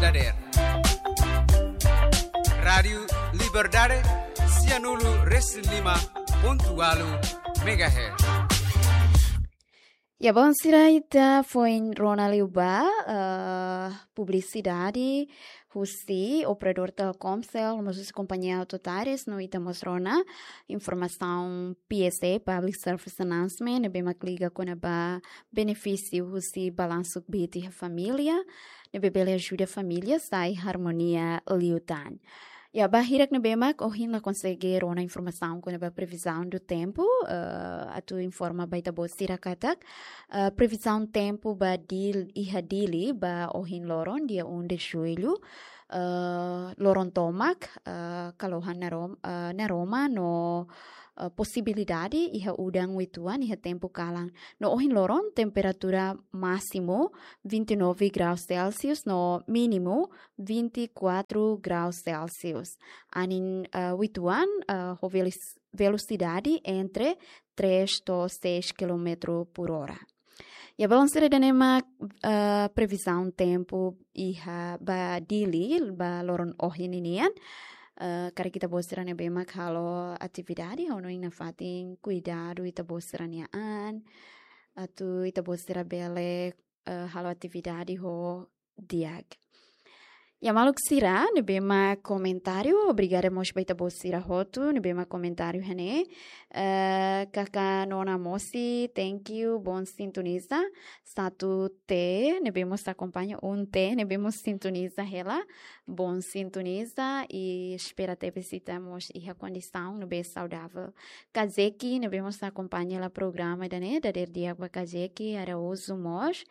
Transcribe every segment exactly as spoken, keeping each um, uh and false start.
Dader. Rádiu Liberdade, sianulu resin lima pontu ualu megahertz. Ya, bon, sira ita foin rona liu ba, eh, publisidade husi operadór Telkomcel, mós husi kompañia Autotares, no ita mós rona informasaun P S A, Public Service Announcement, ne'ebé mak liga kona-ba benefísiu husi balansu kbiit iha família, ne'ebé bele ajuda família sai harmonia liután. Ya, ba hirak ne'ebé mak ohin la konsege rona informasaun kona-ba previsão do tempo, eh, atu informa ba ita-boot sira katak, eh, previsão tempo ba Dil-, iha Dili ba ohin loron, dia um de julho, eh, loron tomak, eh, kalohan narom-, eh, naroman no, eh, posibilidade iha udan uitoan iha tempu kalan. No ohin loron temperatura másimu vinte e nove graus Celsius no mínimu vinte e quatro graus Celsius. Anin, eh, uitoan, eh, ho velis-, velosidade entre três to'o seis quilômetro por hora. Ya, balun sira, ida-ne'e mak, eh, previsão tempo iha ba Dili ba loron ohin ninian. Eh, karik ita-boot sira ne'ebé mak halo atividade, ha'u hanoin nafatin kuidadu ita-boot sira-nia an, atu ita-boot sira bele, eh, halo atividade ho di'ak. Ya, maluk sira ne'ebé mak komentáriu, obrigada mós ba ita-boot sira hotu ne'ebé mak komentáriu iha ne'e. Eh, Kaka Nona Mosi, thank you, bon sintoniza. Satu T ne'ebé mós akompaña, um T ne'ebé mós sintoniza hela. Bon sintoniza i espera tebes ita mós iha kondisaun ne'ebé saudável. Kazeki ne'ebé mós akompaña hela programa ida-ne'e, dader di'ak ba Kazeki Araújo mós.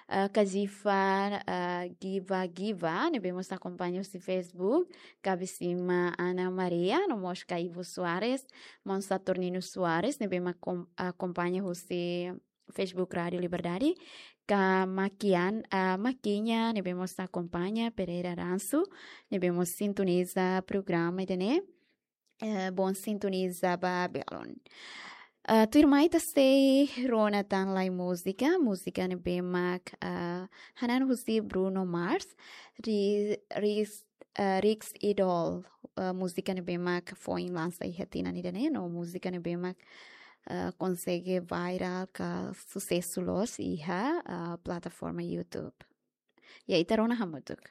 Eh, Kazifa, eh, Giva Giva ne'ebé mós akompaña husi Facebook. Kabisima Ana Maria, no mós Ka Ivo Soares, maun Saturnino Soares ne'ebé mak kom-, akompaña husi Facebook Rádiu Liberdade. Ka Makian, ah, Makinya ne'ebé mós akompaña, Pereira Ransu ne'ebé mós sintoniza programa ida-ne'e. Eh, bon sintoniza ba belun. Ah, tuirmai ita sei rona tan lai múzika, múzika ne'ebé mak, ah, hanan husi Bruno Mars, Ri-, Ris-, ah, Rix Idol, ah, múzika ne'ebé mak foin lansa iha tinan ida-ne'e, no múzika ne'ebé mak, ah, konsege viral ka susesu loos iha, ah, plataforma YouTube. Ya, ita rona hamutuk.